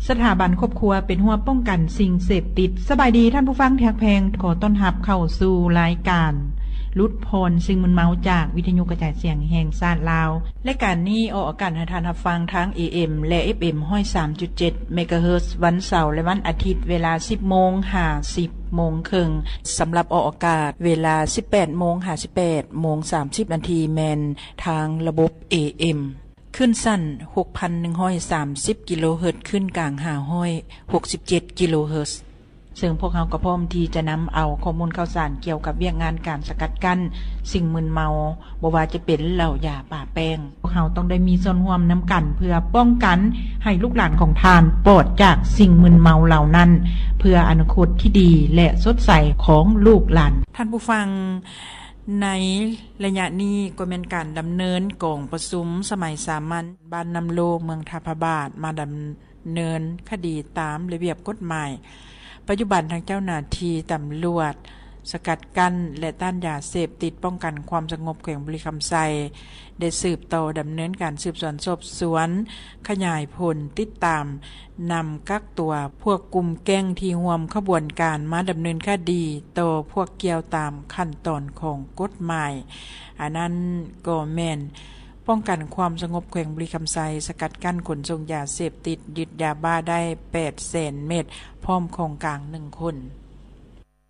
ສະຖາບັນຄອບຄົວເປັນຮົ້ວປ້ອງກັນສິ່ງເສບຕິດ. ສະບາຍດີທ່ານຜູ້ຟັງທີ່ຮັກແພງ, ຂໍຕ້ອນຮັບເຂົ້າສູ່ລາຍການຫຼຸດຜ່ອນສິ່ງມຶນເມົາຈາກວິທະຍຸກະຈາຍສຽງແຫ່ງຊາດລາວ. ລາຍການນີ້ອອກອາກາດໃຫ້ທ່ານຮັບຟັງທາງ ເອເອັມ ແລະ ເອັຟເອັມ ຮ້ອຍສາມຈຸດເຈັດ ເມກາເຮີດ ວັນເສົາ ແລະ ວັນອາທິດ ເວລາ ສິບໂມງ ຫາ ສິບໂມງເຄິ່ງ. ສຳລັບອອກອາກາດເວລາ ສິບແປດໂມງ ຫາ ສິບແປດໂມງ ສາມສິບນາທີ ແມ່ນທາງລະບົບ ເອເອັມ ຄື້ນສັ້ນ ຫົກພັນໜຶ່ງຮ້ອຍສາມສິບ ກິໂລເຮີດ, ຄື້ນກາງ ຫ້າຮ້ອຍຫົກສິບເຈັດ ກິໂລເຮີດ, ເຊິ່ງພວກເຮົາກໍພ້ອມທີ່ຈະນຳເອົາຂໍ້ມູນຂ່າວສານກ່ຽວກັບວຽກງານການສະກັດກັ້ນສິ່ງມຶນເມົາ, ບໍ່ວ່າຈະເປັນເຫຼົ້າ, ຢາ, ປາແປ້ງ. ພວກເຮົາຕ້ອງໄດ້ມີສ່ວນຮ່ວມນຳກັນ ເພື່ອປ້ອງກັນໃຫ້ລູກຫຼານຂອງທ່ານປອດຈາກສິ່ງມຶນເມົາເຫຼົ່ານັ້ນ, ເພື່ອອະນາຄົດທີ່ດີ ແລະ ສົດໃສຂອງລູກຫຼານ. ທ່ານຜູ້ຟັງ, ໃນໄລຍະນີ້ກໍແມ່ນການດຳເນີນກອງປະຊຸມສະໄໝສາມັນ ບ້ານນ້ຳໂລ ເມືອງທ່າພະບາດ ມາດຳເນີນຄະດີຕາມລະບຽບກົດໝາຍ. ປັດຈຸບັນທາງເຈົ້າໜ້າທີ່ຕຳຫຼວດສະກັດກັ້ນ ແລະ ຕ້ານຢາເສບຕິດ ປ້ອງກັນຄວາມສະຫງົບແຂວງບໍລິຄຳໄຊ ໄດ້ສືບຕໍ່ດຳເນີນການສືບສວນສອບສວນ, ຂະຫຍາຍຜົນ, ຕິດຕາມ, ນຳກັກຕົວພວກກຸ່ມແກ້ງທີ່ຮ່ວມຂະບວນການມາດຳເນີນຄະດີຕໍ່ພວກກ່ຽວຕາມຂັ້ນຕອນຂອງກົດໝາຍ. ອັນນັ້ນກໍແມ່ນປ້ອງກັນຄວາມສະຫງົບແຂວງບໍລິຄຳໄຊ, ສະກັດກັ້ນຂົນສົ່ງຢາເສບຕິດ, ຍຶດຢາບ້າໄດ້ແປດແສນເມັດ ພ້ອມຂອງກາງໜຶ່ງຄົນ.